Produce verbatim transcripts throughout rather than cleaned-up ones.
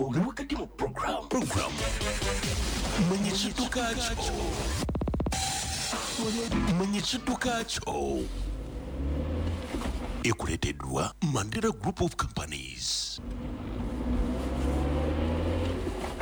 Oli wakati mu program program Manya Ekidduka Kyo. Manya Ekidduka Kyo ekuleeteddwa Mandela Group of Companies.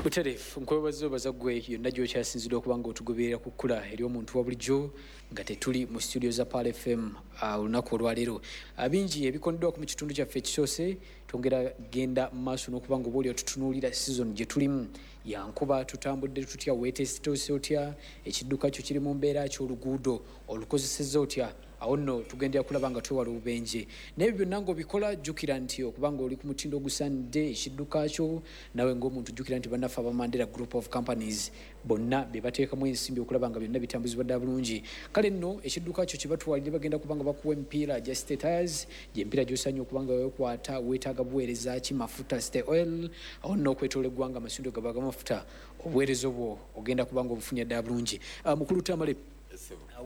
Butereevu, nkwebaza obaza ggwe yonna gy'okyasinzidde okuba nga otugoberera ku kkula eri omuntu wa bulijjo nga tetuli mu studio za Pearl F M uh, olunaku olwaleero. Uh, bingi ebikondeddwako mu kitundu kyaffe ekisoose. Twongera genda mu maaso n'okuba nga oba oli otutunuulira season gye tulimu yankuba. Tutambudde tutya? Weeteesitoose otya? Ekidduka kyo kiri mu mbeera ki? Oluguudo olukozesezza otya? Awo nno tugendera kulaba nga twewala obubenje. Naye ebyo byonna ng'obikola, jjukira nti okuba nga oli ku mutindo ogusaanidde ekidduka kyo, nawe ng'omuntu, jjukira nti bannaffe aba Mandela Group of Companies bonna be bateekamu ensimbi okulaba nga byonna bitambuzibwa ddala bulungi. Kale nno ekidduka kyo kibatwalire, bagenda kuba nga bakuwa emipiira gya Stay Tires, gy'emipiira gy'osaanye okuba nga weekwata. Weetaaga buweereza ki? Mafuta, Stay Oil. Awo nno okwetoola eggwanga amasundiro gaba g'amafuta, obuweereza obwo ogenda kuba nga obufunye ddala bulungi. Ah, mukulu Tamale,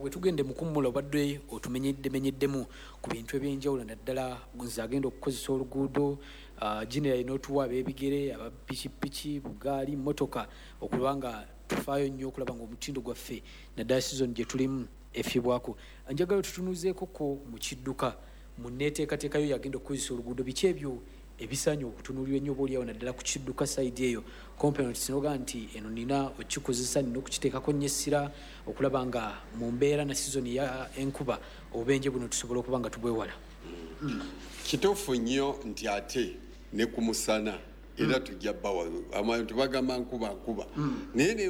wetugende mukummula, obadde otumenyeddemenyeddemu ku bintu ebyenjawulo, naddala nze agenda okukozesa oluguudo generally, n'otuwa ab'ebigere, abapikipiki, bugaali, motoka, okuba nga tufaayo nnyo okulaba nga omutindo gwaffe, naddala season gye tulimu, efiibwako. Njagala tutunuzeeko ko mu kidduka, mu neeteekateekayo yagenda okukozesa oluguudo, biki ebyo ebisaanye okutunuulirwa ennyo oba oliawo, naddala ku kidduka side eyo, components, noga nti eno nina okikozesa, nina okukiteekako nnyo essira okulaba nga mu mbeera na season ya enkuba obubenje buno tusobola okuba nga tubwewala? Kituufu nnyo nti ate ne ku musana era tujja bawa abantu bagamba nkuba nkuba, naye ne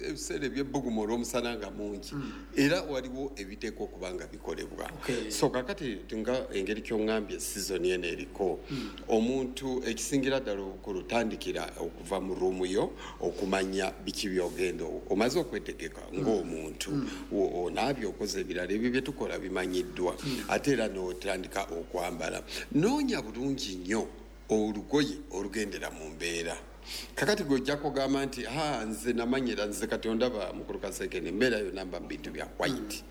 ebiseera ebyebbugumu olw'omusana nga mungi, era waliwo ebiteekwa okuba nga bikolebwa. Okay. So kakati nga engeri kyoŋŋambye, season eno eriko, omuntu ekisingira ddala obukulu, tandikira okuva mu room yo okumanya biki byogenda omaze okwetegeka ng'omuntu. O- onaabye, okoze ebirala, ebyo bye tukola bimanyiddwa, ate era n'otandika okwambala. Noonya bulungi nnyo olugoye olugendera mu mbeera. Kakati gwe ojja kugamba nti, "Ha, nze namanyira, nze kati ondaba mukulu Kasekene, embeera yonna mba mu bintu bya white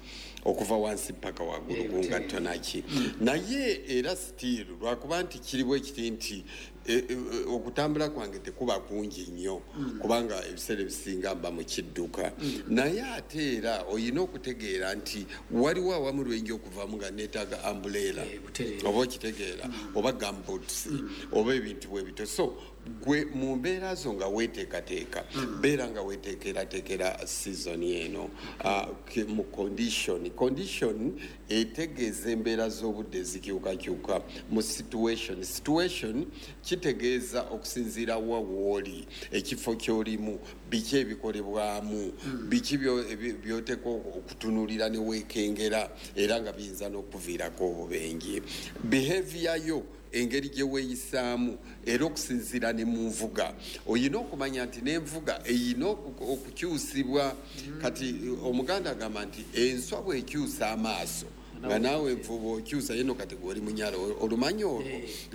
okuva wansi paka waggulu Eh, gungatto naki." Naye era still lwakuba nti kiriwo ekiti nti e, e, okutambula kwange tekuba kungi nnyo, kubanga ebiseera ebisinga mba mu kidduka. Naye ate era oyina okutegeera nti waliwo awamu lwenja okuvamu nga neetaaga umbrella, Eh, butereevu. oba okitegeera, oba gumboots, oba ebintu bwe bityo. So gwe mu mbeera zo nga weeteekateeka, beera nga weeteekerateekera season eno. Ah, ke- mu condition, condition etegeeza embeera z'obudde ezikyukakyuka. Mu situation, situation kitegeeza okusinziira wa wooli, ekifo ky'olimu, biki ebikolebwamu, biki byo- ebi- by'oteekwa okutunuulira ne weekengera, era nga biyinza n'okuviirako obubenje. Behavior yo, engeri gye weeyisaamu, era okusinziira ne mu nvuga, oyina okumanya nti n'envuga eyina oku- okukyusibwa. Kati Omuganda agamba nti enswa bw'ekyusa amaaso nga naawe envuba okyusa yeno. Kati gwe oli munyala, olumanyi olwo,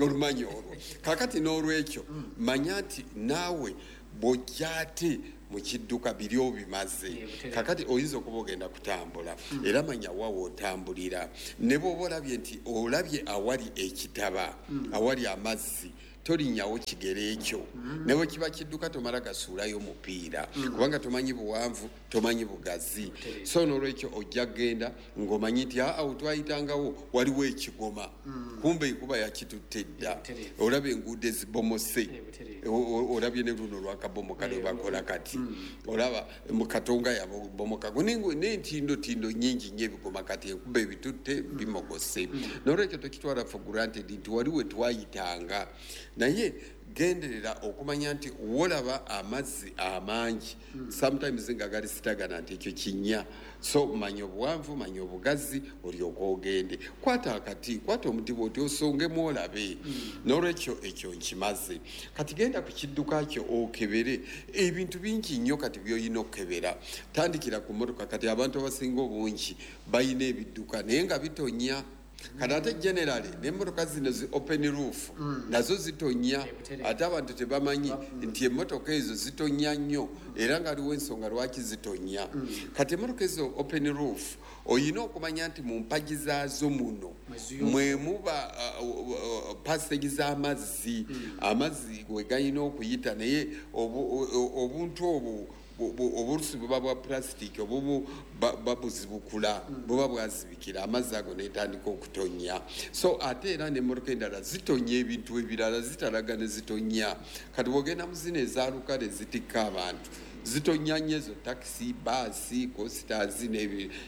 olumanyi olwo. Kakati n'olwekyo manya nti naawe bw'ojja ate mu kidduka biri obimaze. Eh, butereevu. Kakati oyinza okuba ogenda kutambula, era manya wawe otambulira. Ne bw'oba olabye nti olabye awali ekitaba, awali amazzi, tolinyawo kigere ekyo. Ne bwe kiba kidduka, tomala gasuulayo mupiira, kubanga tomanyi buwanvu, tomanyi bugazi. So nolwekyo ojja kgenda ng'omanyi nti aa, twayitangawo waliwo ekigoma, kumbe enkuba yakitutte dda. Butereevu. Olaba enguudo ezibomose. Eh, butereevu. O- o- olabye ne luno lwakabomoka lwe bakola kati, olaba mu Katonga yabomokako n'entindotindo nyingi nnyo ebigoma. Kati enkuba ebitutte, bimogose. Nolwekyo tokitwala for granted nti wali we twayitanga, naye genderera okumanya nti wolaba amazzi amangi, sometimes nga gali stagnant, ekyo kinnya. So manya obuwanvu, manya obugazi, olyoka ogende. Kwata akati, kwata omuti bwoti osongemu olabe. Nolwekyo ekyo nkimaze. Kati genda ku kidduka kyo okebere ebintu bingi nnyo kati byolina okukebera. Tandikira ku motoka. Kati abantu abasinga obungi balina ebidduka naye nga bitonya. Kati ate generally n'emmotoka zino zi open roof nazo zitonya, ate abantu tebamanyi nti emmotoka ezo zitonya nnyo, era nga aliwo ensonga lwaki zitonya. Kati emmotoka ezo open roof oyina okumanya nti mu mpagi zaazo muno mwe muba passage z'amazzi, amazzi we galina okuyita, naye obuntu obwo obulusi buba bwa plastic obubu babuzibukula, buba bwazibikira amazzi ago netandika okutonya. So ate era n'emmotoka endala zitonya ebintu ebirala, zitalaga ne zitonya. Kati bw'ogenda mu zino ezaalukale zitikka abantu, zitonya nnyo ezo takisi, baasi, coasters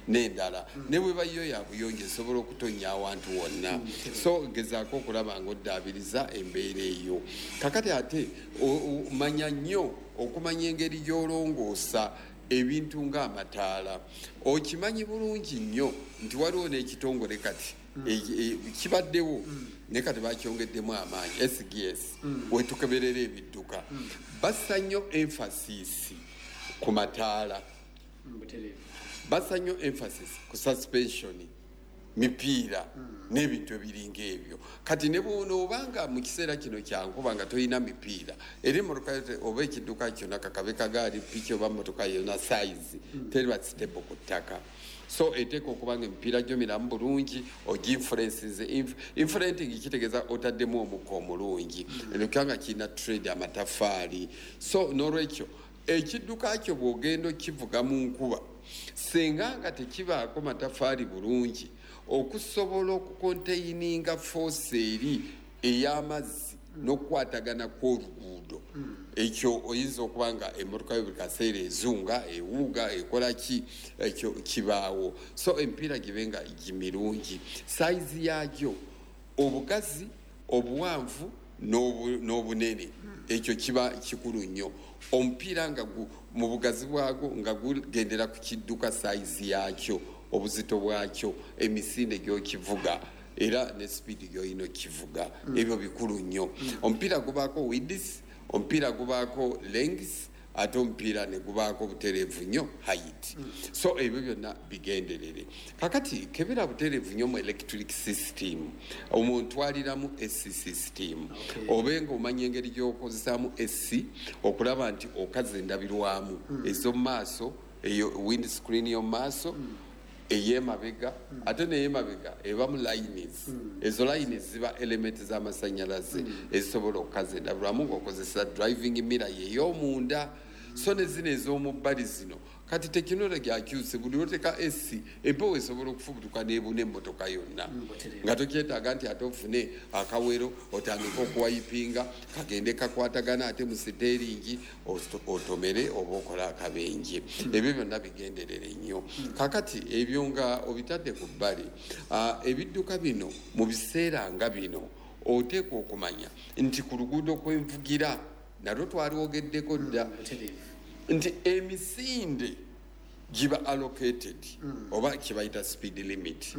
n'endala, ne bwe bayo ya buyonjo esobola okutonya awantu wonna. So gezaako okulaba ng'oddaabiriza embeera eyo. Kakati ate manya nnyo okumanya engeri gy'olongoosa ebintu ng'amataala. Okimanyi bulungi nnyo nti waliwo n'ekitongole kati kibaddewo, naye kati bakyongeddemu amaanyi, S G S, wetukeberera ebidduka. Bassa nnyo emphasis ku mataala, bassa nnyo emphasis ku suspension, mipiira n'ebintu ebiringa ebyo. Kati ne bw'onoobanga mu kiseera kino kya nkuba nga tolina mipiira, era emmotoka oba ekidduka kyonna, kakabe kagaali, piki oba mmotoka yonna size, teriba stable ku ttaka. So eteeka okuba nga emipiira gyo miramu bulungi, oginfluencinze. Influenting kitegeeza otaddemu omukka omulungi, nga kirina trade amataffaali. So n'olwekyo ekidduka kyo bw'ogenda okivuga mu nkuba, singa nga tekibaako mataffaali bulungi okusobola okukonteininga force eri ey'amazzi n'okukwatagana kw'oluguudo, ekyo oyinza okuba nga emmotoka yo buli kaseera ezunga, ewuuga, ekola ki, ekyo kibaawo. So emipiira gibe nga gimirungi, sayizi yaagyo, obugazi, obuwanvu n'obunene, ekyo kiba kikulu nnyo. Omupiira nga mu bugazi bwagwo nga gugendera ku kidduka, sayizi yaakyo, obuzito bwakyo, emisinde gy'okivuga, era ne sipiidi gy'olina okivuga, ebyo bikulu nnyo. Omupiira gubaako width, omupiira gubaako length, ate omupiira ne gubaako butereevu nnyo height. So ebyo byonna bigenderere. Kakati kebera butereevu nnyo mu electric system, omuntu aliramu A C system, obe ng'omanya engeri gy'okozesaamu A C okulaba nti okaza endabirwamu ez'omu maaso, eyo windscreen y'omu maaso, ey'emabega, ate n'ey'emabega ebamu lines. Ezo lines ziba element z'amasannyalaze ezisobola okukaza endabirwamu ng'okozesa driving mirror y'ey'omunda. So ne zino ez'omu bbali zino kati tekinologi akyuse, buli lw'oteeka A C empewo esobola okufubutuka n'ebuna emmotoka yonna, nga tokyetaaga nti ate ofune akawero otandike okuwayipinga kagende kakwatagana ate mu siteeringi otomere oba okola akabenje. Ebyo byonna bigenderere nnyo. Kakati ebyo nga obitadde ku bbali, ebidduka bino mu biseera nga bino oteekwa okumanya nti ku luguudo kwenvugira nalwo twaliwogeddeko dda nti emisinde giba allocated oba kibayita speed limit,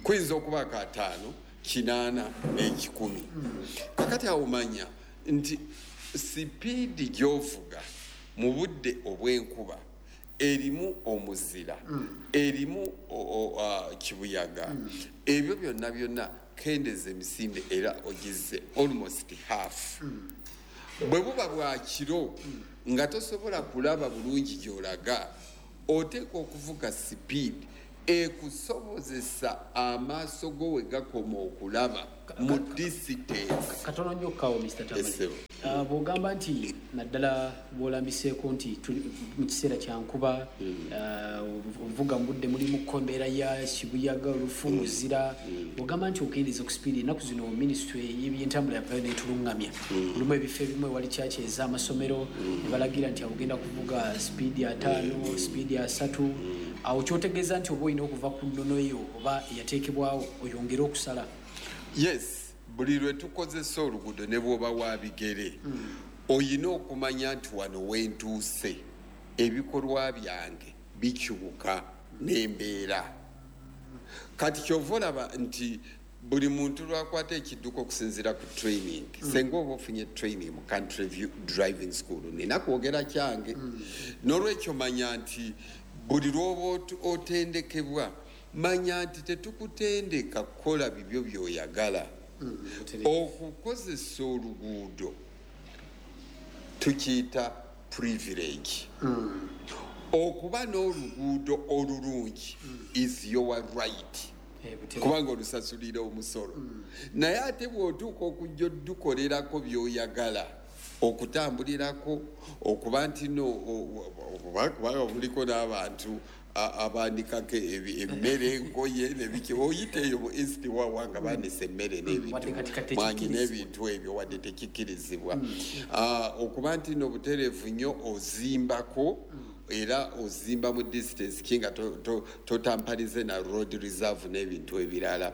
kuyinza okubaako ataano, kinaana n'ekikumi. Kakati awo manya nti sipiidi gy'ovuga mu budde obw'enkuba erimu omuzira, erimu kibuyaga, ebyo byonna byonna kendeeza emisinde era ogize almost half. Bwe buba bwa kiro nga tosobola kulaba bulungi gy'olaga, oteekwa okuvuga sipiidi ekusobozesa amaaso go we gakoma okulaba mu distance. Katono nnyo kawo Mister Tamale. Bw'ogamba nti naddala bw'olambiseeko nti tuli mu kiseera kya nkuba, ovuga mu budde mulimu embeera ya kibuyaga, olufu, muzira, bw'ogamba nti okendeeza ku sipiidi, ennaku zino minisitule y'ebyentambula yavayo n'etulungamya. Olumu ebifo ebimu ewali kyaki ez'amasomero ne balagira nti awo ogenda kuvuga sipiidi ataano, sipiidi asatu. Awo kyotegeeza nti oba olina okuva ku nnono eyo oba eyateekebwawo oyongere okusala. Yes, buli lwe tukozesa oluguudo ne bw'oba wa bigere, oyina okumanya nti wano wentuuse ebikolwa byange bikyuka n'embeera. Kati ky'ova olaba nti buli muntu lwakwata ekidduka okusinziira ku training, senga oba ofunye training mu Country View Driving School, nina kwogera kyange. N'olwekyo manya nti buli lw'oba otendekebwa Manya nti tetukutendeka kukola bibyo by'oyagala. Okukozesa oluguudo tukiyita privilege. Okuba n'oluguudo olulungi is your right, kubanga olusasulira omusolo. Naye ate bw'otuuka okujja oddukolerako by'oyagala, okutambulirako, okuba nti no kubanga buliko n'abantu abaanikako emmere, engoye nebiki, oyita eyo mu East wawa nga baanise emmere n'ebintu mwanyi n'ebintu ebyo, wadde tekikkirizibwa. Okuba nti no butereevu nnyo ozimbako, era ozimba mu distance ki nga totampalize na road reserve n'ebintu ebirala.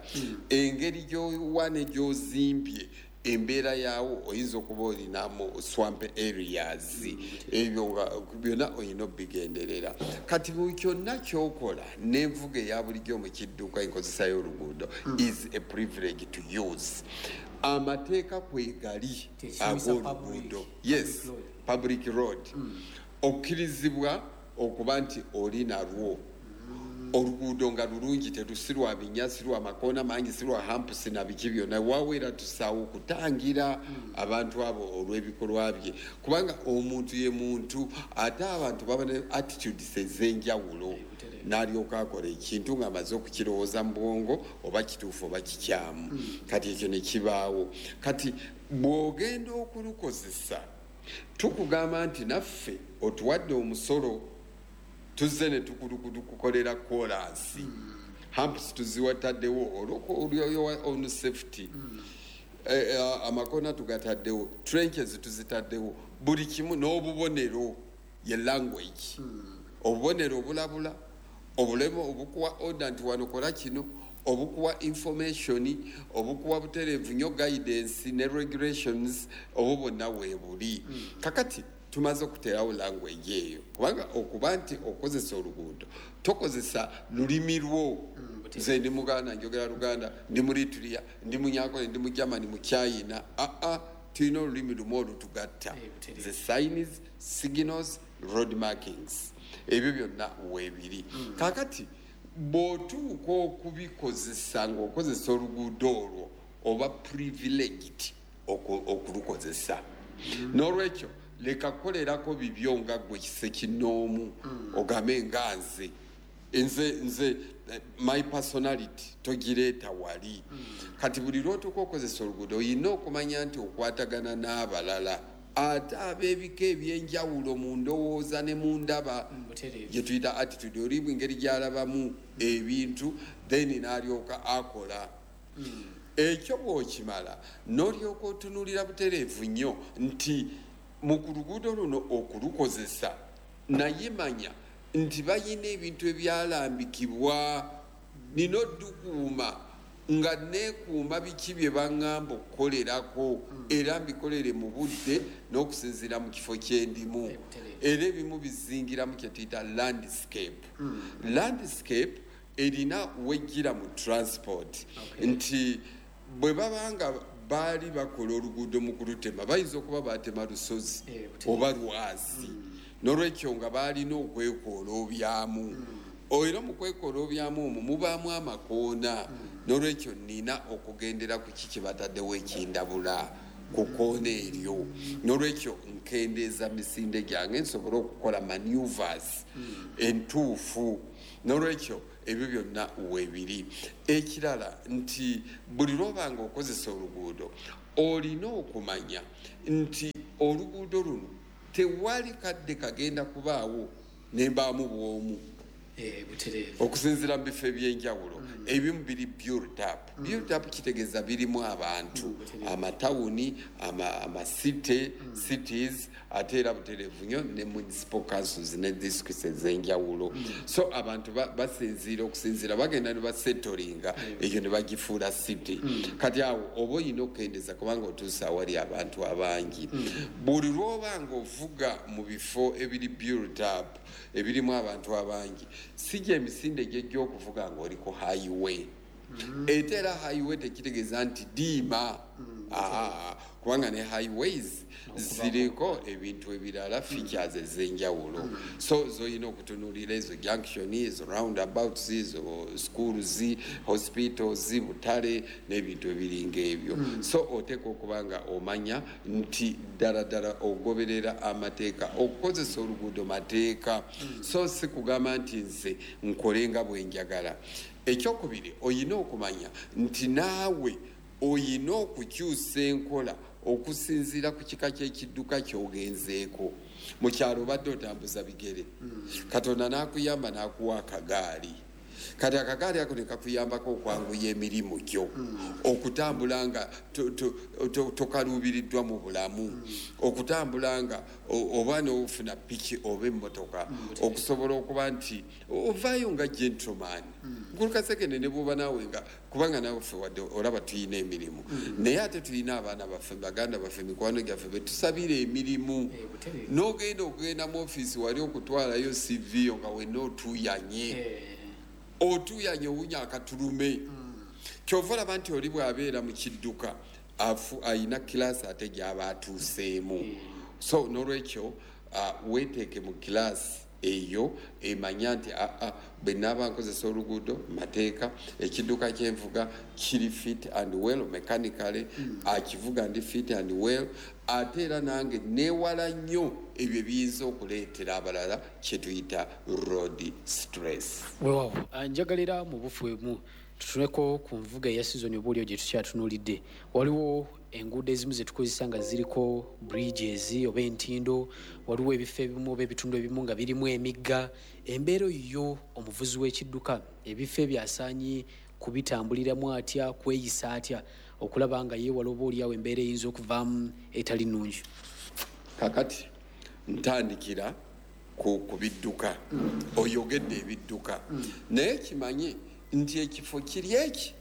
Engeri gy'owa ne gy'ozimbye, embeera yaawo oyinza okuba olinamu swamp areas, ebyo byonna olina obigenderera. Kati mu kyonna ky'okola n'envuga eya bulijjo mu kidduka, enkozesa y'oluguudo is a privilege to use. Amateeka kwegali ag'oluguudo, yes, public road, okkirizibwa okuba nti oli nalwo oluguudo nga lulungi, terusi lwa binnya, si lwa makoona mangi, si lwa humps na biki byonna. Waweera tusaawo okutangira abantu abo olw'ebikolwa bye, kubanga omuntu ye muntu, ate abantu baba ne attitudes ez'enjawulo, n'alyoka akola ekintu ng'amaze okukirowooza mu bwongo oba kituufu oba kikyamu. Kati ekyo ne kibaawo. Kati bw'ogenda okulukozesa, tukugamba nti naffe otuwadde omusolo, tuzze ne tukukolera koolaasi, humps tuziwataddewo olw'oyo on safety, amakona tugataddewo, trenches tuzitaddewo, buli kimu n'obubonero, ye language, obubonero obulabula, obulemo obukuwa order nti wano kola kino, obukuwa information, obukuwa butereevu nnyo guidance ne regulations, obwo bwonna weebuli. Kakati tumaze okuteerawo language eyo, kubanga okuba nti okozesa oluguudo tokozesa lulimi lwo. Nze ndi Muganda, njogera Luganda, ndi Muritiriya, ndi Munyankole, ndi Mugermany, mu China. Aa, tulina olulimi lumu olutugatta, the signs, signals, road markings, ebyo byonna weebiri. Kakati bw'otuuka okubikozesa ng'okozesa oluguudo olwo, oba privileged okulukozesa. N'olwekyo leka kukolerako bibyo nga ggwe kisekinnoomu, ogambe nga nze nze nze my personality togireeta wali. Kati buli lw'otuuka okozesa oluguudo olina okumanya nti okwatagana n'abalala, ate ab'ebika ebyenjawulo mu ndowooza ne mu ndaba gye tuyita attitude, oli engeri gy'alabamu ebintu, then n'alyoka akola. Ekyo bw'okimala n'olyoka otunuulira butereevu nnyo nti mu ku luguudo luno okulukozesa, naye manya nti bayina ebintu ebyalambikibwa, nina oddukuuma nga neekuuma biki bye baŋŋamba okukolerako, era mbikolere mu budde n'okusinziira mu kifo kyendimu. Era ebimu bizingiramu kye tuyita landscape. Landscape erina wejjira mu transport, nti bwe babanga baali bakola oluguudo mu kulutema, bayinza okuba batema lusozi oba lwazi, n'olwekyo nga baalina okwekooloobyamu. Era mu kwekooloobyamu omwo mubaamu amakoona, n'olwekyo nina okugendera ku ki kye bataddewo ekindabula ku koona eryo. N'olwekyo nkendeeza misinde gyange nsobole okukola maneuvers entuufu. N'olwekyo ebyo byonna weebiri. Ekirala nti buli lw'obanga okozesa oluguudo olina okumanya nti oluguudo luno tewali kadde kagenda kubaawo nembaamu bw'omu, okusinziira mu bifo ebyenjawulo. Ebimu biri built up. Built up kitegeeza birimu abantu, amatawuni, amasite, cities, ate era butereevu nnyo ne municipal councils ne districts ez'enjawulo. So abantu basinziira okusinziira bagenda ne basetolinga ekyo ne bagifuula city. Kati awo oba olina okukendeeza kubanga otuusa awali abantu abangi. Buli lw'oba ng'ovuga mu bifo ebiri built up, ebirimu abantu abangi, si gye emisinde gyejja okuvuga ng'oli ku highway. Ate era highway tekitegeeza nti diima. Kubanga ne highways ziriko ebintu ebirala, features ez'enjawulo. So zoyina okutunuulira ezo junction, ezo roundabouts, ezo schools, hospitals, butale n'ebintu ebiringa ebyo. So oteekwa okuba nga omanya nti ddala ddala ogoberera amateeka, okukozesa oluguudo mateeka. So si kugamba nti nze nkole nga bwe njagala. Ekyokubiri, oyina okumanya nti naawe oyina okukyusa enkola okusinziira ku kika ky'ekidduka ky'ogenzeeko. Mu kyalo obadde otambuza bigere, Katonda n'akuyamba n'akuwa akagaali. Kati akagaali ako ne kakuyambako okwanguya emirimu gyo, okutambula nga tokaluubiriddwa mu bulamu, okutambula nga oba n'ofuna piki oba emmotoka, okusobola okuba nti ovaayo nga gentleman. Nkulu Kasekende, ne bw'oba naawe nga kubanga naawe ffe wadde olaba tuyina emirimu, naye ate tulina abaana baffe, baganda baffe, mikwano gyaffe betusabira emirimu, n'ogenda okugenda mu ofiisi wali okutwalayo C V yo nga wenna otuuyanye, otuuyanye, owunya akatulume. Kyova olaba nti oli bw'abeera mu kidduka afu ayina class ate gy'aba atuuseemu. So n'olwekyo weeteeke mu class eyo emanya nti aa, bwe naaba nkozesa oluguudo mateeka, ekidduka kyenvuga kiri fit and well mechanically, akivuga ndi fit and well, ate era nange neewala nnyo ebyo ebiyinza okuleetera abalala kyetuyita road stress. Weewaawo, njagala era mu bufu emu tutuneko ku nvuga eya sizoni oba oliyo gye tukyatunuulidde. Waliwo enguudo ezimu zetukozesa nga ziriko bridges oba entindo, waliwo ebifo ebimu oba ebitundu ebimu nga birimu emigga. Embeera yo omuvuzi w'ekidduka ebifo ebyo asaanye kubitambuliramu atya, kweyisa atya okulaba nga yeewala oba oliawo embeera eyinza okuvaamu etali nnungi? Kakati ntandikira ku, ku bidduka. Oyogedde ebidduka, naye kimanye nti ekifo kiri eki,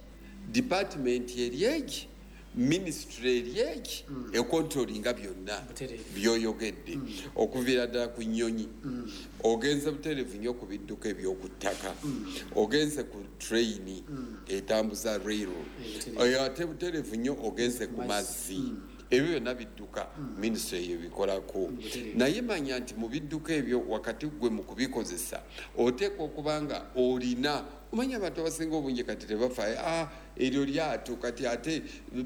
department eri eki, minisitule eri eki ekontrolinga byonna Butereevu. byoyogedde, okuviira ddala ku nnyonyi, ogenze butereevu nnyo ku bidduka ebyoku ttaka, ogenze ku train etambuza rail, butereevu. Oyo ate butereevu nnyo ogenze ku mazzi. Ebyo byonna bidduka, minisitule eyo bikolako. Naye manya nti mu bidduka ebyo wakati gwe mu kubikozesa oteekwa okuba nga olina omanya abantu abasinga obungi kati tebafaayo, ah, eryo lyato, kati ate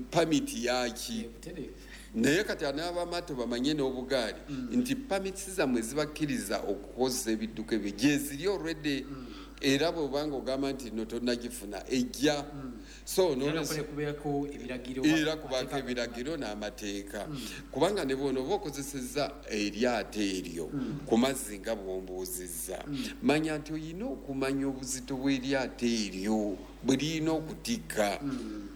permit yaki? Butereevu. Naye kati anaabamaato bamanye n'obugaali nti permits zammwe zibakkiriza okukozesa ebidduka ebyo gyeziri already, era bw'obanga ogamba nti no tonnagifuna, ejja. So Era n'olwensonga- nakwo kubeerako ebiragiro. Era kubaako ebiragiro n'amateeka, kubanga ne bwona oba okozesezza eryato eryo ku mazzi nga bw'ombuuzizza, manya nti oyina okumanya obuzito bw'eryato eryo bwe lirina okutikka.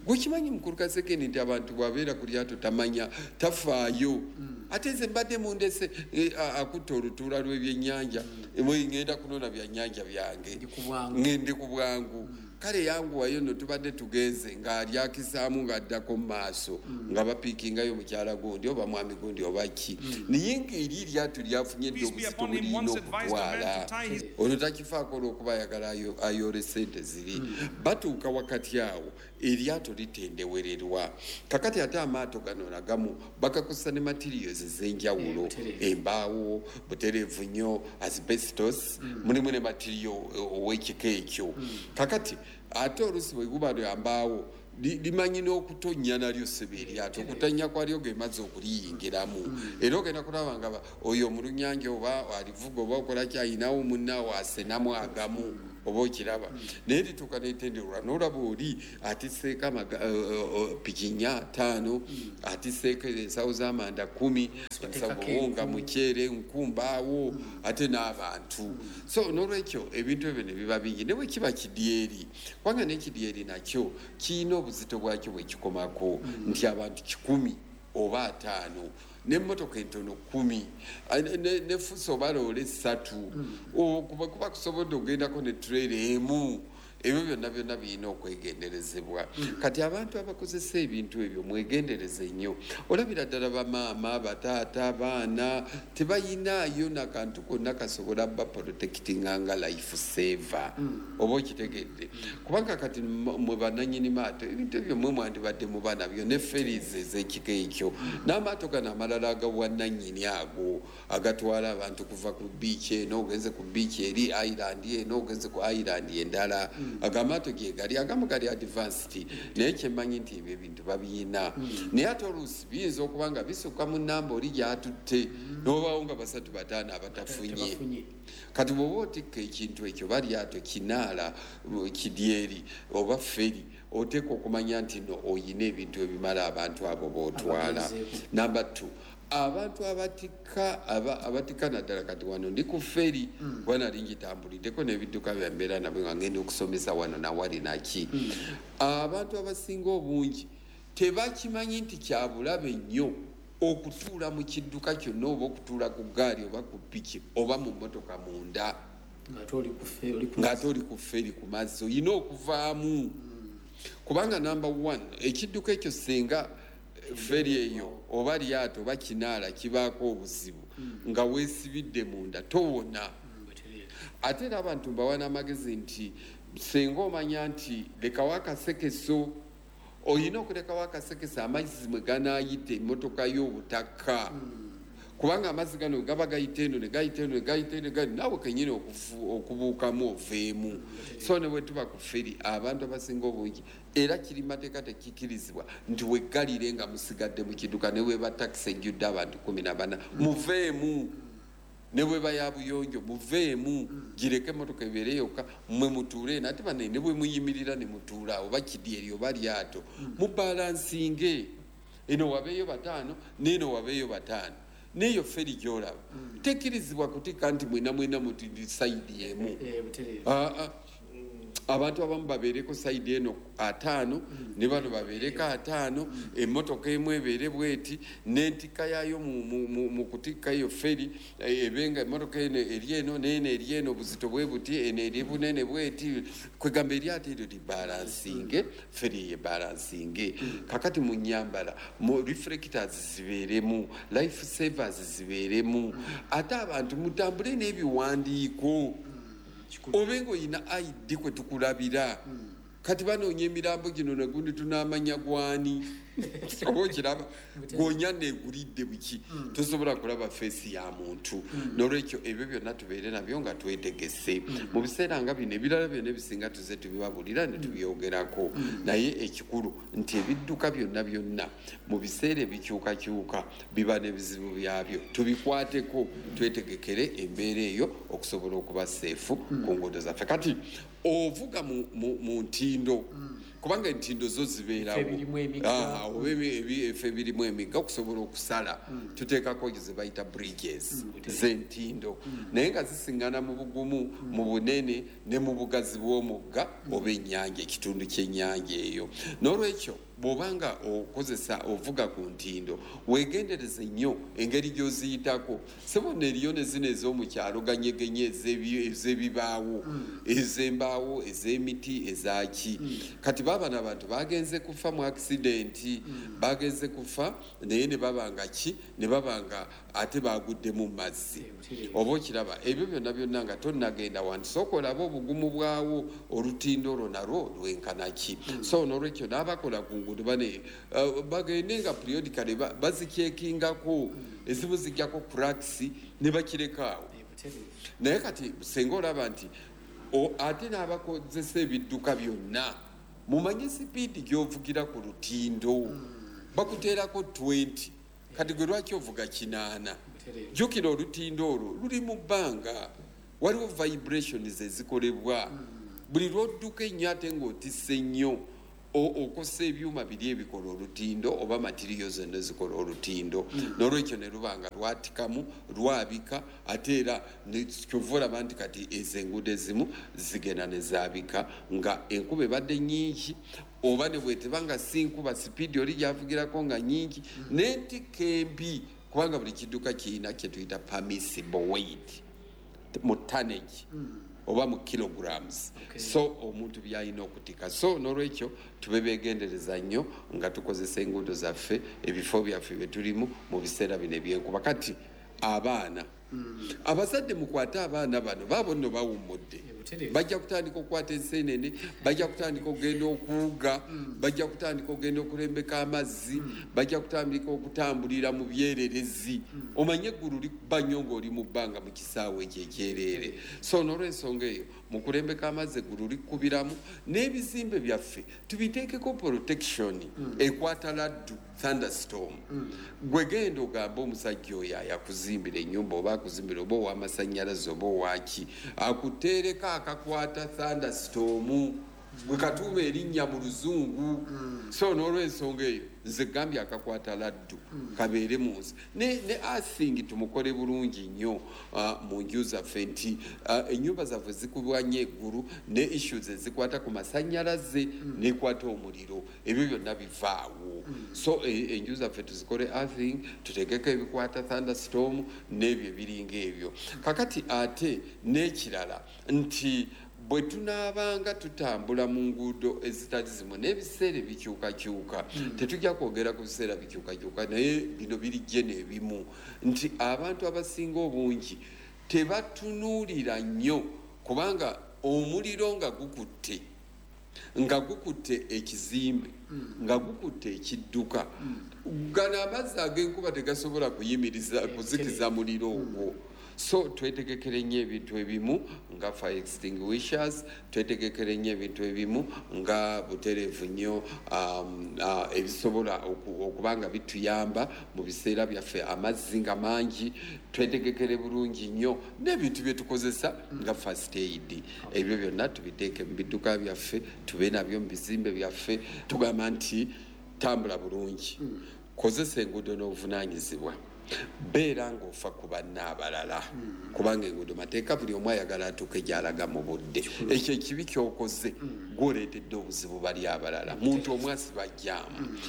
Gwekimanyi, mukulu Kasekeni, nti abantu bw'abeera ku lyato tamanya, tafaayo. Ate nze mbadde mundese, eh, a- akutta olutuula lw'ebyennyanja, mwe ŋŋenda kunona byannyanja byange. Ndi ku bwangu. Ŋŋende ku bwangu. Kale yanguwayo nno, tubadde tugenze ng'alyakisaamu ng'addako mu maaso nga bapiikingayo mukyala gundi oba mwami gundi oba ki, naye ng'eri eryato lyafunye dde Peace be obuzito upon him, bulirina once advised a man okutwala. to tie his Ono takifaako olw'okuba ayagala ayo- ayole sente ziri. Batuuka wakati awo eryato litendewererwa. Kakati ate amaato gano nagamu bagakozesa ne materials ez'enjawulo. Butereevu. Embaawo, butereevu nnyo, asbestos, mulimu ne material ow'ekika ekyo. Kakati ate oluusi bwe guba lya mbaawo, li- limanyi n'okutonnya nalyo ssebe eryato, okutonnya kwalyo ge mazzi okuliyingiramu, era ogenda kulaba nga ba- oyo omulunyanja oba alivuga oba okola ki, ayinawo munnaawo asenamu agamu oba okiraba, naye lituuka netenderwa n'olaba oli atisseeko amaga- eh, eh, eh, piki nnya ttaano, atisseeko ensawo z'amanda kumi, ensawo Bateekako buwunga, enku. Muceere, nkumbaawo, ate n'abantu. So n'olwekyo ebintu ebyo ne biba bingi, ne bwe kiba kidyeri, kubanga n'ekidyeri nakyo kirina obuzito bwakyo bwe kikomako, nti abantu kikumi oba ataano n'emmotoka entono kumi, Ah, ne- ne- ne fuso oba loole ssatu. O, kuba kuba kusobodde ogendako ne trailer emu. Ebyo byonna byonna birina okwegenderezebwa. Kati abantu abakozesa ebintu ebyo mwegendereze nnyo. Olabira ddala bamaama, bataata, abaana tebayinaayo nakantu konna kasobola baprotectinga nga life saver. Oba okitegedde? Kubanga kati mwe bannannyini maato, ebintu ebyo mwe mwandibadde muba nabyo, ne ferries ez'ekika ekyo, n'amaato gano amalala agawannannyini ago agatwala abantu kuva ku beach eno ogenze ku beach eri, island eno ogenze ku island endala. Ago amaato ge gali, agamu gali advanced, naye kyemmanyi nti ebyo ebintu babiyina. Naye ate oluusi biyinza okuba nga bisukka mu nnamba oli gy'atutte, n'obaawo nga basatu bataano abatafunye. Kati bw'oba otikka ekintu ekyo, balyato, kinaala, kidyeri oba ferry, oteeka okumanya nti no oyina ebintu ebimala abantu abo b'otwala. Number two, abantu abatikka abatikka naddala kati wano ndi ku ferry, kuba nali ngitambuliddeko n'ebidduka byambeera nabyo nga ngenda okusomesa wano nawali naki. Abantu abasinga obungi tebakimanyi nti kyabulabe nnyo okutuula mu kidduka kyonna, oba okutuula ku ggaali oba ku piki oba mu mmotoka munda ng'ate oli ku ferry ku mazzi. Oyina okuvaamu, kubanga number one, ekidduka ekyo singa ferry eyo oba lyato oba kinaala kibaako obuzibu nga weesibidde munda, towona. Ate era abantu mbawa n'amagezi nti singa omanya nti lekawo akasekeso, oyina okulekawo akasekeso amazzi mwe ganaayita emmotoka y'obutaka, kubanga amazzi gano gaba gayita eno ne gayita eno ne gayita eno, naawe kennyini okubuukamu oveemu. So ne bwe tuba ku ferry, abantu abasinga obungi, era kiri mateeka tekikirizibwa nti weggalire nga musigadde mu kidduka, ne bweba takisi ejjudde abantu kumi na bana, muveemu. Ne bweba ya buyonjo, muveemu, gireke emmotoka ebeere yokka, mmwe mutuule. Ate banne ne bwe muyimirira ne mutuula, oba kidyeri oba lyato, mubalansinge, eno wabeeyo bataano n'eno wabeeyo bataano. N'eyo ferry gy'olaba tekkirizibwa kutikka nti mwena mwena muti side emu. Abantu abamu babeereko side eno ataano, ne bano babeereko ataano, emmotoka emu ebeere bweti n'entikka yaayo mu kutikka eyo ferry ebe nga emmotoka eno eri eno n'eno eri eno, obuzito bwe buti, eno eri bunene bweti. Kwegamba eryato eryo libalansinge, ferry eyo ebalansinge. Kakati mu nnyambala, mu reflectors zibeeremu, life savers zibeeremu, ate abantu mutambule n'ebiwandiiko, obe ng'olina I D kwe tukulabira. Kati banoonya emirambo gino nagundi tunaamanya gwani, oba okiraba gonya neegulidde buki, tosobola kulaba feesi ya muntu. N'olwekyo ebyo byonna tubeere nabyo nga twetegese mu biseera nga bino. Ebirala byonna ebisinga tuze tubibabulira ne tubyogerako, naye ekikulu nti ebidduka byonna byonna mu biseera ebikyukakyuka biba n'ebizibu byabyo, tubikwateko twetegekere embeera eyo okusobola okuba seefu ku nguudo zaffe. Kati ovuga mu ntindo, kubanga entindo zo zibeerawo oba efe ebirimu emigga, okusobola okusala tuteekako ze bayita bridges z'entindo, naye nga zisiŋŋana mu bugumu, mu bunene ne mu bugazi bw'omugga oba ennyanja, ekitundu ky'ennyanja eyo. N'olwekyo bw'obanga okozesa ovuga ku ntindo, weegendereze nnyo engeri gy'oziyitako. Sebo eriyo ne zino ez'omukyalo ganyegenye, ez'ebibaawo, ez'embaawo, ez'emiti, ezaki. Kati baabano abantu bagenze kufa mu accident, bagenze kufa naye ne babanga ki, ne babanga ate bagudde mu mazzi. Oba okiraba ebyo byonna byonna nga tonnagenda wantu, sooka olabe obugumu bwawo, olutindo olwo nalwo lwenkana ki. So n'olwekyo n'abakola ku nguudo bane bagende nga periodically bazikyekingako, ezimu zijjako cracks ne bakirekaawo. Naye kati singa olaba nti ate n'abakozesa ebidduka byonna, mumanye sipiidi gy'ovugira ku lutindo, bakuteerako twenty, kati gwe lwaki ovuga kinaana? Jjukira olutindo olwo luli mu bbanga, waliwo vibrations ezikolebwa buli lw'odduka ennyo ate ng'otisse nnyo, okosa ebyuma biri ebikola olutindo oba matiriyo zonna ezikola olutindo. N'olwekyo ne luba nga lwatikamu, lwabika, ate era kyova olaba nti kati ezo enguudo ezimu zigenda ne zaabika nga enkuba ebadde nnyingi, oba ne bweteba nga si nkuba, sipiidi oli gy'avugirako nga nnyingi, n'entikka embi, kubanga buli kidduka kirina kye tuyita permissible weight mu tonnage. oba mu kilograms. Okay. So omuntu byalina okutika. So n'olwekyo tube beegendereza nnyo nga tukozesa enguudo zaffe, ebifo byaffe bye tulimu mu biseera bino ebyenkuba. Kati abaana, abazadde mukwate abaana bano, baabo nno bawummudde, bajja kutandika okukwata enseenene, bajja kutandika okugenda okuwuga, bajja kutandika okugenda okulembeka amazzi, bajja kutandika okutambulira mu byererezi. Omanye eggulu likuba nnyo ng'oli mu bbanga mu kisaawe ekyo ekyereere. So n'olwensonga eyo mu kulembeka amazzi eggulu likubiramu, n'ebizimbe byaffe tubiteekeko protection ekwata laddu, thunderstorm. Gwe genda ogambe omusajja oyo ayakuzimbira ennyumba oba akuzimbira oba ow'amasannyalaze oba owaki, akuteereko akakwata thunderstorm, gwe katuuma erinnya mu luzungu. So n'olwensonga eyo nze gambye akakwata laddu kabeere mu nsi. Ne, ne earthing tumukole bulungi nnyo uh, mu nju zaffe nti uh, ennyumba zaffe zikubwa nnyo eggulu, ne issues ezikwata ku masannyalaze nekwata omuliro, ebyo byonna bivaawo. So e, enju zaffe tuzikole earthing, tuteekeko ebikwata thunderstorm n'ebyo ebiringa ebyo. Kakati ate n'ekirala nti bwe tunaabanga tutambula mu nguudo ezitali zimu n'ebiseera ebikyukakyuka, tetujja kwogera ku biseera bikyukakyuka, naye bino biri gye n'ebimu nti abantu abasinga obungi tebatunuulira nnyo, kubanga omuliro nga gukutte, nga gukutte ekizimbe, nga gukutte ekidduka, gano amazzi ag'enkuba tegasobola kuyimiriza kuzikiza muliro ogwo. So twetegekere nnyo ebintu ebimu nga fire extinguishers, twetegekere nnyo ebintu ebimu nga butereevu nnyo, um, uh, ebisobola okuba nga bituyamba mu biseera byaffe amazzi nga mangi. Twetegekere bulungi nnyo n'ebintu bye tukozesa nga first aid, ebyo byonna tubiteeke mu bidduka byaffe, tube nabyo mu bizimbe byaffe. Tugamba nti tambula bulungi, kozesa enguudo n'obuvunaanyizibwa, beera ng'ofa ku banna abalala, kubanga enguudo mateeka, buli omu ayagala atuuke gy'alaga mu budde. Ekyo ekibi ky'okoze gw'oleetedde obuzibu bali abalala, muntu omu asiba jjaamu.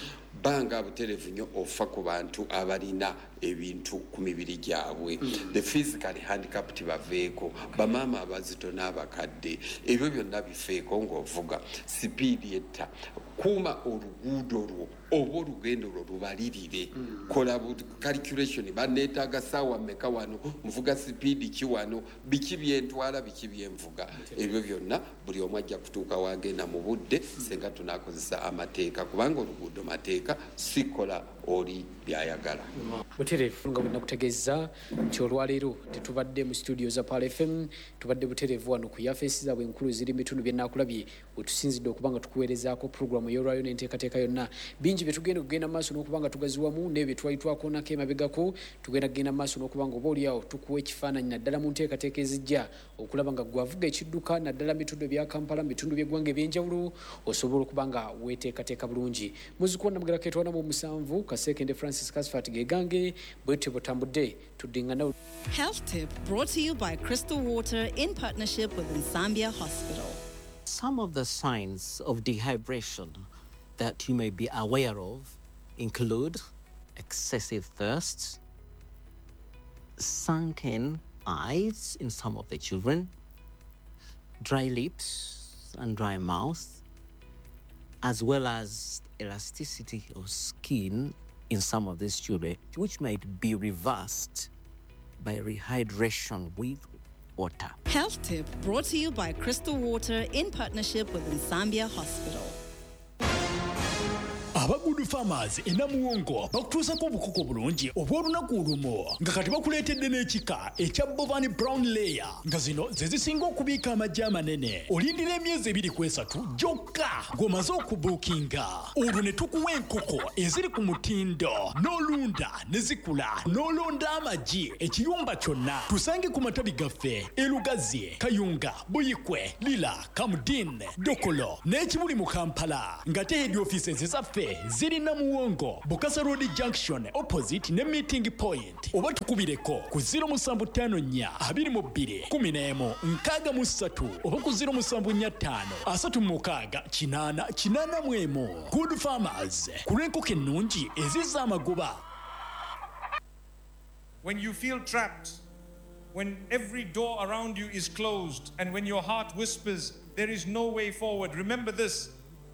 Banga butereevu nnyo ofa ku bantu abalina ebintu ku mibiri gyabwe, the physically handicapped baveeko, bamaama abazito n'abakadde, ebyo byonna bifeeko ng'ovuga. Sipiidi etta, kuuma oluguudo lwo oba olugendo lwo lubalirire, kola calculation, banneetaaga ssaawa mmeka wano, nvuga sipiidi ki wano, biki byentwala, biki byenvuga, ebyo byonna buli omu ajja kutuuka wagenda mu budde senga tunaakozesa amateeka, kubanga oluguudo mateeka, sikola oli byayagala. Butereevu nga bwe nakutegeeza nti olwaleero tetubadde mu studio za Pearl F M, tubadde butereevu wano ku yafeesi zaabwe enkulu eziri mu bitundu bye naakulabye, wetusinzidde okuba nga tukuweerezaako puroguramu ey'olwaleero n'enteekateeka yonna. Bingi bye tugenda okugenda maaso n'okuba nga tugaziwamu n'ebyo bye twali twakoonako emabegako, tugenda kugenda maaso n'okuba nga oba oliawo tukuwa ekifaananyi naddala mu nteekateeka ezijja okulaba nga gwavuga ekidduka naddala mu bitundu ebya Kampala, mu bitundu by'eggwanga eby'enjawulo, osobola okuba nga weeteekateeka bulungi. Muzzukulu Namugera Ketwana mu musanvu, Kasekende Francis Kasfat Gegange, bwetyo butambudde tuddingana. Health Tip brought to you by Crystal Water in partnership with Nsambya Hospital. Some of the signs of dehydration that you may be aware of include excessive thirst, sunken eyes in some of the children, dry lips and dry mouth, as well as elasticity of skin in some of these children, which might be reversed by rehydration with water. Health Tip brought to you by Crystal Water in partnership with Nsambya Hospital. Aba Good Farmers e Namuwongo bakutuusako obukoko bulungi obw'olunaku olumu, nga kati bakuleetedde n'ekika ekya Bovani Brown Layer, nga zino ze zisinga okubiika amagi amanene. Olindira emyezi ebiri ku esatu gyokka ng'omaze okubuukinga, olwo ne tukuwa enkoko eziri ku mutindo n'olunda ne zikula n'olonda amagi ekiyumba kyonna. Tusange ku matabi gaffe e Lugazi, Kayunga, Buyikwe, Lira, Kamudin, Dokolo n'ekibuli mu Kampala, nga te head offices zaffe ziri Namuwongo, Bukasa Road Junction opposite ne meeting point, oba tukubireko ku zero musanvu ttaano nnya abiri mu bbiri kumi n'emu nkaaga mu ssatu oba ku zero musanvu nnya ttaano asatu mu mukaaga kinaana kinaana mu emu. Good Farmers, ku lw'enkoko ennungi ezizza amagoba. When you feel trapped, When every door around you is closed and when your heart whispers, there is no way forward, remember this: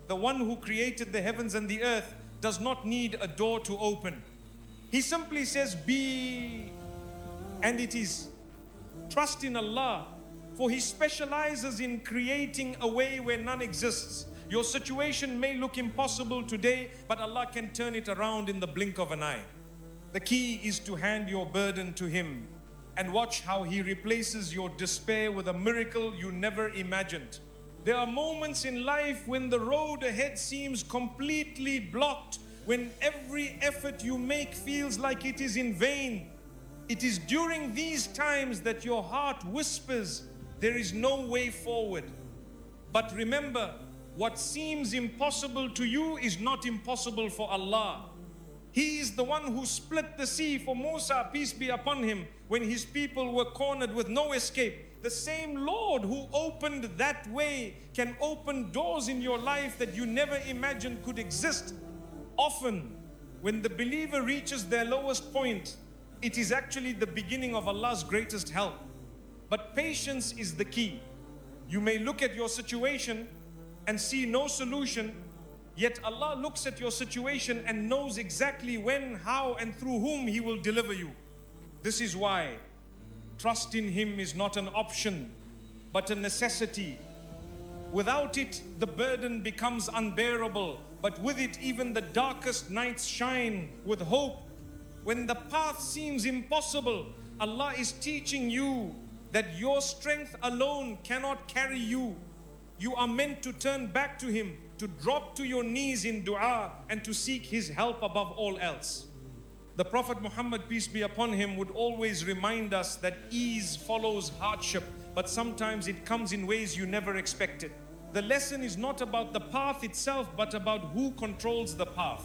the one who created the heavens and the earth does not need a door to open. He simply says, be, and it is. Trust in Allah, for He specializes in creating a way where none exists. Your situation may look impossible today, but Allah can turn it around in the blink of an eye. The key is to hand your burden to Him and watch how He replaces your despair with a miracle you never imagined. There are moments in life when the road ahead seems completely blocked, when every effort you make feels like it is in vain. It is during these times that your heart whispers, there is no way forward. But remember, what seems impossible to you is not impossible for Allah. He is the one who split the sea for Musa, peace be upon him, when his people were cornered with no escape. The same Lord who opened that way can open doors in your life that you never imagined could exist. Often, when the believer reaches their lowest point, it is actually the beginning of Allah's greatest help. But patience is the key. You may look at your situation and see no solution, yet Allah looks at your situation and knows exactly when, how, and through whom He will deliver you. This is why trust in Him is not an option, but a necessity. Without it, the burden becomes unbearable, but with it, even the darkest nights shine with hope. When the path seems impossible, Allah is teaching you that your strength alone cannot carry you. You are meant to turn back to Him, to drop to your knees in dua, and to seek His help above all else. The Prophet Muhammad, peace be upon him, would always remind us that ease follows hardship, but sometimes it comes in ways you never expected. The lesson is not about the path itself, but about who controls the path.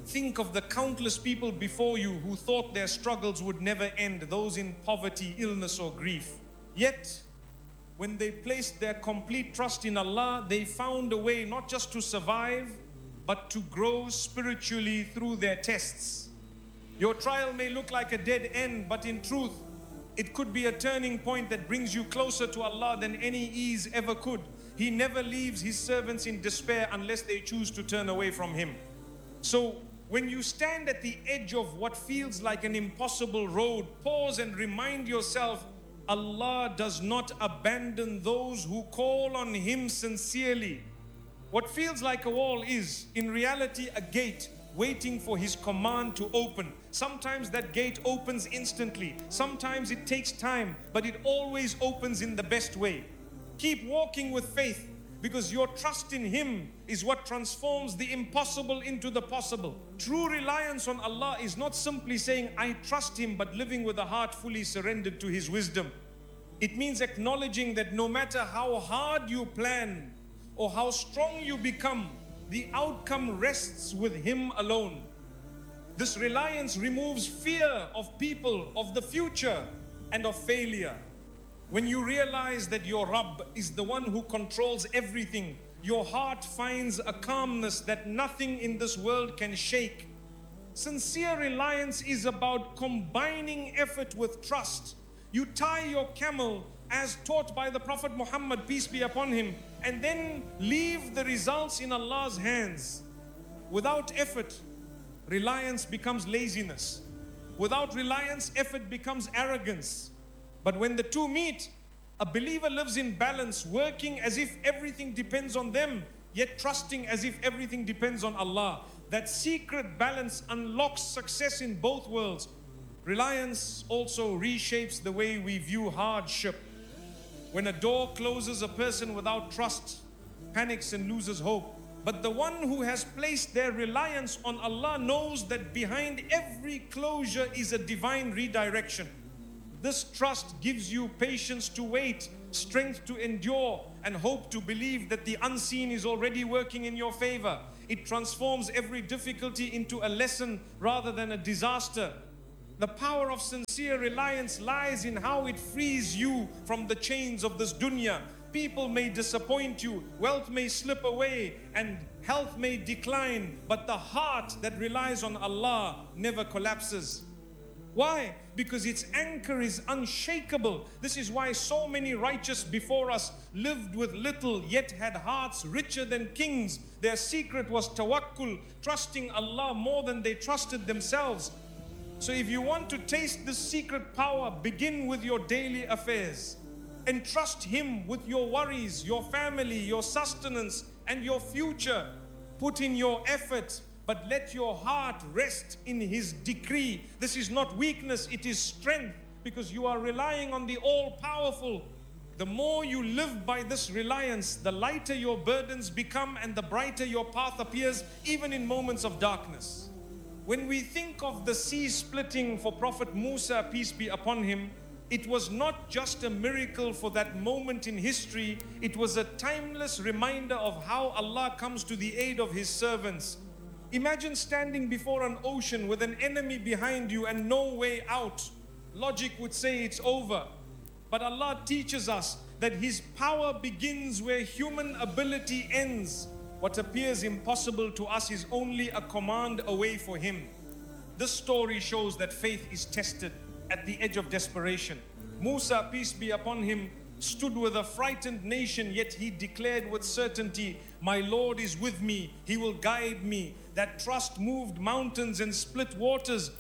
Think of the countless people before you who thought their struggles would never end, those in poverty, illness, or grief. Yet, when they placed their complete trust in Allah, they found a way not just to survive, but to grow spiritually through their tests. Your trial may look like a dead end, but in truth, it could be a turning point that brings you closer to Allah than any ease ever could. He never leaves His servants in despair unless they choose to turn away from Him. So, when you stand at the edge of what feels like an impossible road, pause and remind yourself, Allah does not abandon those who call on Him sincerely. What feels like a wall is, in reality, a gate waiting for His command to open. Sometimes that gate opens instantly. Sometimes it takes time, but it always opens in the best way. Keep walking with faith, because your trust in Him is what transforms the impossible into the possible. True reliance on Allah is not simply saying, I trust Him, but living with a heart fully surrendered to His wisdom. It means acknowledging that no matter how hard you plan or how strong you become, the outcome rests with Him alone. This reliance removes fear of people, of the future, and of failure. When you realize that your Rabb is the one who controls everything, your heart finds a calmness that nothing in this world can shake. Sincere reliance is about combining effort with trust. You tie your camel as taught by the Prophet Muhammad, peace be upon him, and then leave the results in Allah's hands. Without effort, reliance becomes laziness. Without reliance, effort becomes arrogance. But when the two meet, a believer lives in balance, working as if everything depends on them, yet trusting as if everything depends on Allah. That secret balance unlocks success in both worlds. Reliance also reshapes the way we view hardship. When a door closes, a person without trust panics and loses hope. But the one who has placed their reliance on Allah knows that behind every closure is a divine redirection. This trust gives you patience to wait, strength to endure, and hope to believe that the unseen is already working in your favor. It transforms every difficulty into a lesson rather than a disaster. The power of sincere reliance lies in how it frees you from the chains of this dunya. People may disappoint you, wealth may slip away, and health may decline, but the heart that relies on Allah never collapses. Why? Because its anchor is unshakable. This is why so many righteous before us lived with little, yet had hearts richer than kings. Their secret was tawakkul, trusting Allah more than they trusted themselves. So if you want to taste this secret power, begin with your daily affairs. Entrust Him with your worries, your family, your sustenance, and your future. Put in your effort, but let your heart rest in His decree. This is not weakness, it is strength, because you are relying on the All-Powerful. The more you live by this reliance, the lighter your burdens become and the brighter your path appears, even in moments of darkness. When we think of the sea splitting for Prophet Musa, peace be upon him, it was not just a miracle for that moment in history, it was a timeless reminder of how Allah comes to the aid of His servants. Imagine standing before an ocean with an enemy behind you and no way out. Logic would say it's over. But Allah teaches us that His power begins where human ability ends. What appears impossible to us is only a command away for Him. This story shows that faith is tested at the edge of desperation. Musa, peace be upon him, stood with a frightened nation, yet he declared with certainty, "My Lord is with me, He will guide me." That trust moved mountains and split waters.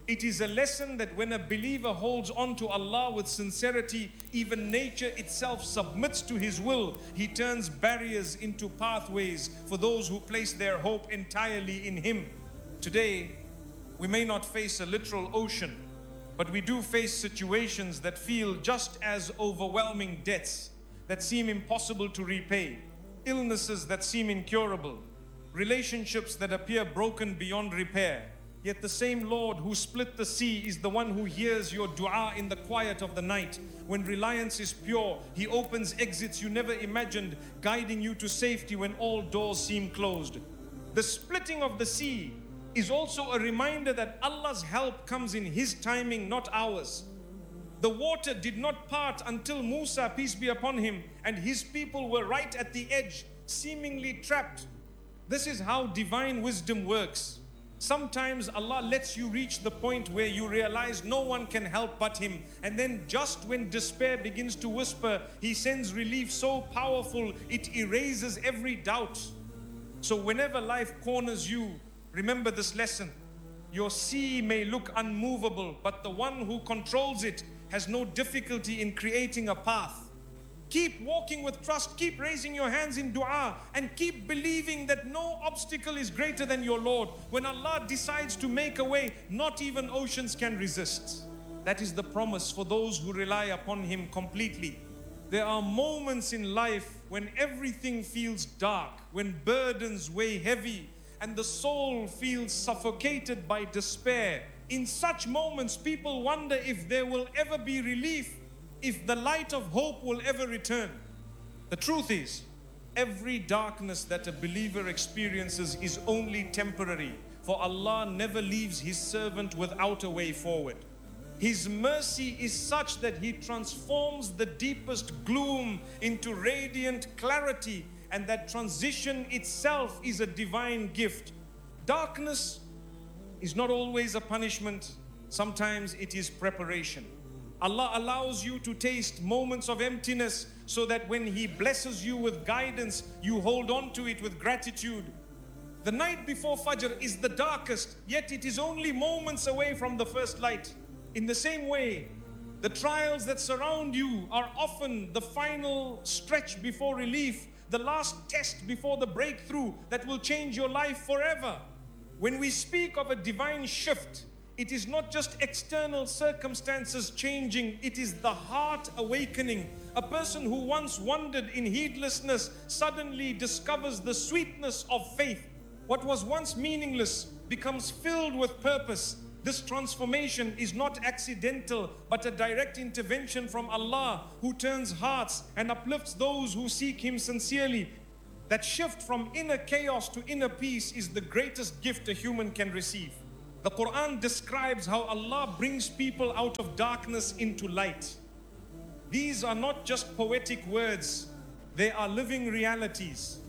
It is a lesson that when a believer holds on to Allah with sincerity, even nature itself submits to His will. He turns barriers into pathways for those who place their hope entirely in Him. Today, we may not face a literal ocean, but we do face situations that feel just as overwhelming, debts that seem impossible to repay, illnesses that seem incurable, relationships that appear broken beyond repair. Yet the same Lord who split the sea is the one who hears your dua in the quiet of the night. When reliance is pure, He opens exits you never imagined, guiding you to safety when all doors seem closed. The splitting of the sea is also a reminder that Allah's help comes in His timing, not ours. The water did not part until Musa, peace be upon him, and his people were right at the edge, seemingly trapped. This is how divine wisdom works. Sometimes Allah lets you reach the point where you realize no one can help but Him. And then just when despair begins to whisper, He sends relief so powerful it erases every doubt. So whenever life corners you, remember this lesson. Your sea may look unmovable, but the one who controls it has no difficulty in creating a path. Keep walking with trust, keep raising your hands in dua, and keep believing that no obstacle is greater than your Lord. When Allah decides to make a way, not even oceans can resist. That is the promise for those who rely upon Him completely. There are moments in life when everything feels dark, when burdens weigh heavy, and the soul feels suffocated by despair. In such moments, people wonder if there will ever be relief, if the light of hope will ever return. The truth is, every darkness that a believer experiences is only temporary, for Allah never leaves His servant without a way forward. His mercy is such that He transforms the deepest gloom into radiant clarity, and that transition itself is a divine gift. Darkness is not always a punishment. Sometimes it is preparation. Allah allows you to taste moments of emptiness so that when He blesses you with guidance, you hold on to it with gratitude. The night before Fajr is the darkest, yet it is only moments away from the first light. In the same way, the trials that surround you are often the final stretch before relief, the last test before the breakthrough that will change your life forever. When we speak of a divine shift, it is not just external circumstances changing, it is the heart awakening. A person who once wandered in heedlessness suddenly discovers the sweetness of faith. What was once meaningless becomes filled with purpose. This transformation is not accidental, but a direct intervention from Allah, who turns hearts and uplifts those who seek Him sincerely. That shift from inner chaos to inner peace is the greatest gift a human can receive. The Quran describes how Allah brings people out of darkness into light. These are not just poetic words, they are living realities.